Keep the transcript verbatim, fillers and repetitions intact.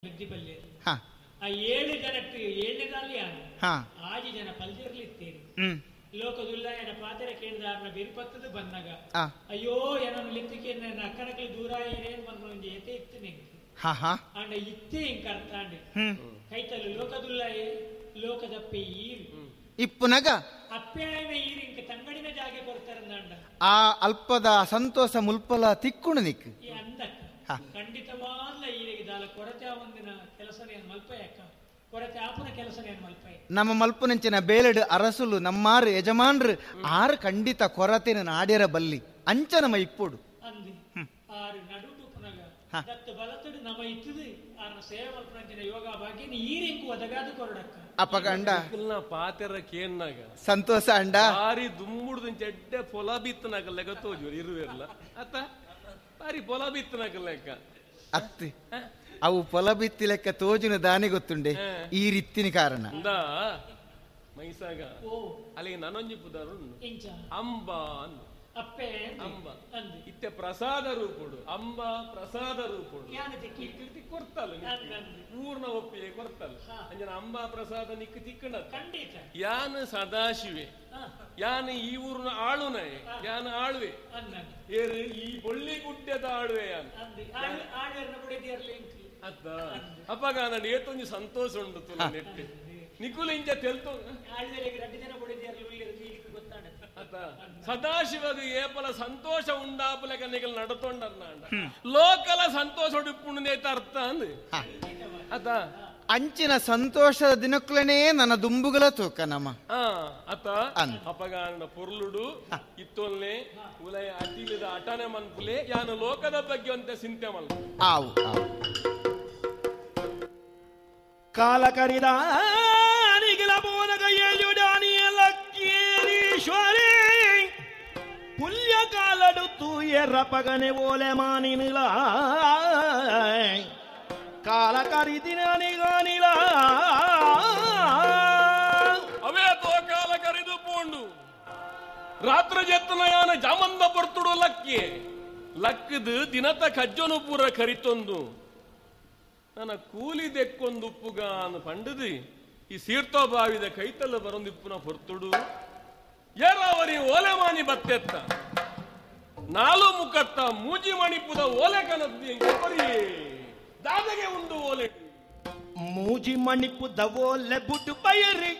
ಬುದ್ಧಿ ಹಾ ಆ ಏಳು ಜನಕ್ಕೆ ಏಳನೇದಲ್ಲಿ ಯಾನು ಹಾ ಆಜಿ ಜನ ಪಲ್ದಿರ್ಲಿತ್ತೀರಿ ಹ್ಮ್ ಲೋಕದುಲ್ಲಾಯನ ಪಾತ್ರ ಕೇಂದ್ರ ಬಿರುಪತ್ತದ ಬಂದಾಗ ಆ ಅಯ್ಯೋ ಏನನ್ನು ಲಿತ್ತಿಕೆ ನನ್ನ ಅಕ್ಕನಕಲಿ ದೂರ ಏನೇನು ಬಂದು ಒಂಜಿ ಎತೆ ಇತ್ತು ನಿಂಗೆ ಹಾ ಹಾ ಆಂಡ ಇತ್ತೇ ಇಂಕ ಅರ್ಥಾಂಡೆ ಹ್ಮ್ ಕೈತಲು ಲೋಕದುಲ್ಲಾಯೆ ಲೋಕದಪ್ಪೆ ಈರು ಇಪ್ಪುನಗ ಅಪ್ಪೆಯಾಯನ ಈರು ಇಂಕ ತಂಗಡಿನ ಜಾಗೆ ಕೊಡ್ತಾರಂದಾಂಡ ಆ ಅಲ್ಪದ ಸಂತೋಷ ಮುಲ್ಪಲ ತಿಕ್ಕುಣು ನಿಕ್ ಈ ಅಂದಕ್ಕ ಹಾ. ಖಂಡಿತವಾದ್ಲ ಈರಿಗೆ ದಾಲ ಕೊರತೆ ಒಂದಿನ ಕೆಲಸನೇ ಮಲ್ಪಯಕ್ಕ ಕೊರತೆ ಆಪುನ ಕೆಲಸನೇ ಮಲ್ಪಯ ನಮ್ಮ ಮಲ್ಪುನಂಚಿನ ಬೇಲೆಡು ಅರಸುಲು ನಮ್ಮಾರು ಯಜಮಾನ್ರು ಆರು ಖಂಡಿತ ಕೊರತೆನ ನಾಡ್ಯರ ಬಲ್ಲಿ ಅಂಚ ನಮ್ಮ ಇಪ್ಪುಡು ಅಂದಿ ಆರು ನಡುಟು ಪುನಗ ಹಾ. ದತ್ತು ಬಲತಡು ನಮ ಇತ್ತದು ಆರ್ನ ಸೇವೆ ಮಲ್ಪನಂಚಿನ ಯೋಗ ಭಾಗ್ಯನ ಈರಿಂಕು ಒದಗಾದು ಕೊರಡಕ್ಕ ಅಪಗಂಡ ನಿಕ್ಕಲ್ನ ಪಾತೆರ ಕೇನ್ನಾಗ ಸಂತೋಷ ಅಂಡ ಬಾರಿ ದುಮ್ಮುಡ್ದು ಚೆಡ್ಡೆ ಪೊಲ ಬಿತ್ತನಾಗ ಲೆಕ್ಕ ತೋಜು ಇರುವೆರ್ಲ ಅತ್ತ ಬಾರಿ ಪೊಲ ಬಿತ್ತನಾಗ ಲೆಕ್ಕ ಅತ್ತಿ ಅವು ಪೊಲ ಬಿತ್ತಿ ಲೆಕ್ಕ ತೋಜಿನ ದಾನಿ ಗೊತ್ತುಂಡೆ ಈ ರೀತಿನ ಕಾರಣ ಅಂದ ಮೈಸಾಗ ಓ ಅಲ್ಲಿಗೆ ನನೊಂಜಿ ಪುದಾರು ಉಂಡು. ಇಂಚ ಅಂಬಾ ಅಂದು ಅಪ್ಪೆ ಅಂದಿ. ಅಂಬ ಅಂದಿ ಇತ್ತೆ ಪ್ರಸಾದ ರೂಪುಡು ಅಂಬ ಪ್ರಸಾದ ರೂಪುಡು ಯಾನ ತಿಕ್ಕಿ ನಿಕ್ಕಿರ್ತಿ ಕೊಡ್ತಲ್ಲ ಅಂದ್ ಅಂದ್. ಪೂರ್ಣ ಒಪ್ಪಿಗೆ ಕೊಡ್ತಲ್ಲ ಹಾ. ಅಂಜನ ಅಂಬಾ ಪ್ರಸಾದ ನಿಕ್ಕು ತಿಕ್ಕಣ ಖಂಡಿತ ಯಾನ್ ಸದಾಶಿವೆ ಹಾ, ಯಾನ್ ಈ ಊರಿನ ಆಳುನಯೆ ಯಾನ್ ಆಳುವೆ ಅಂದ್ ಅಂದ್. ಏರು ಈ ಬೊಳ್ಳಿ ಗುಡ್ಡೆದ ಆಳುವೆ ಯಾನ್ ಅಂದಿ ಆಳು ಆಳುವರ್ನ ಬುಡದಿಯರ್ಲಿ ಇಂಕ್ ಅತ್ತ ಅಪ್ಪಗ ನಾನು ಏತೊಂಜಿ ಸಂತೋಷ ಉಂಡು ತುಲ ನೆಟ್ಟೆ ನಿಕುಲು ಇಂಚ ತೆಲ್ತು ಆಳುವರೆಗೆ ರಡ್ಡು ಜನ ಬುಡದಿಯರ್ಲಿ ಉಳ್ಳಿರು ಈಗ ಗೊತ್ತಾಡ ಅತ್ತ ಸದಾಶಿವಗ ಏಪಲ ಸಂತೋಷ ಉಂಡಾಪಲಕ ನಿಗಲ್ ನಡತೊಂಡರ್ನಾಂಡ ಲೋಕಲ ಸಂತೋಷ ಉಡುಪುಂಡು ಅರ್ಥ ಅಂದ್ ಹಾ. ಅತ್ತ ಅಂಚಿನ ಸಂತೋಷದ ದಿನಕ್ಕಲನೇ ನನ್ನ ದುಂಬುಗಳ ತೂಕ ನಮ್ಮ ಆ ಅತ್ತ ಅಂದ್. ಅಪಗಾನ ಪೊರ್ಲುಡು ಇತ್ತೊಲ್ನೆ ಉಲಯ ಅತಿಲಿದ ಅಟನೆ ಮನ್ಪುಲೆ ಯಾನು ಲೋಕದ ಬಗ್ಗೆ ಅಂತ ಚಿಂತೆ ಮಲ್ಪ ಆವು ಆವು ಕಾಲ ಕರಿದ ನಿಗಿಲ ಬೋನಗ ಏಳುಡಾನಿಯಲಕ್ಕೇರೀಶ್ವರಿ ಪುಲ್ಯ ಕಾಲಡು ತೂಯರ ಪಗನೆ ಓಲೆ ಮಾನಿನಿಲ ಕಾಲ ಕರಿದಿನ ನಿಗಾನಿಲ ಅವೇ ತೋಕಾಲ ಕರಿದು ಪೋಂಡು ರಾತ್ರಿ ಜೆತ್ತನ ಯಾನ ಜಾಮಂದ ಬರ್ತುಡು ಲಕ್ಕಿ ಲಕ್ಕದು ದಿನತ ಕಜ್ಜನು ಪೂರ ಕರಿತೊಂದು ನನ್ನ ಕೂಲಿ ದೆಕ್ಕೊಂದು ಉಪ್ಪುಗಾನು ಪಂಡದು ಈ ಸೀರ್ತೋ ಬಾವಿದ ಕೈತಲ್ಲ ಬರೊಂದು ಇಪ್ಪುನ ಹೊರ್ತುಡು ಏರಾವರಿ ಓಲೆ ಮಾನಿ ಬತ್ತೆತ್ತ ನಾಲು ಮುಖತ್ತ ಮೂಜಿ ಮಣಿಪುದ ಓಲೆ ಕನದ್ದು ಬರಿ ದಾದಗೆ ಉಂಡು ಓಲೆ ಮೂಜಿ ಮಣಿಪುದ ಓಲೆ ಬುಡು ಬಯರಿ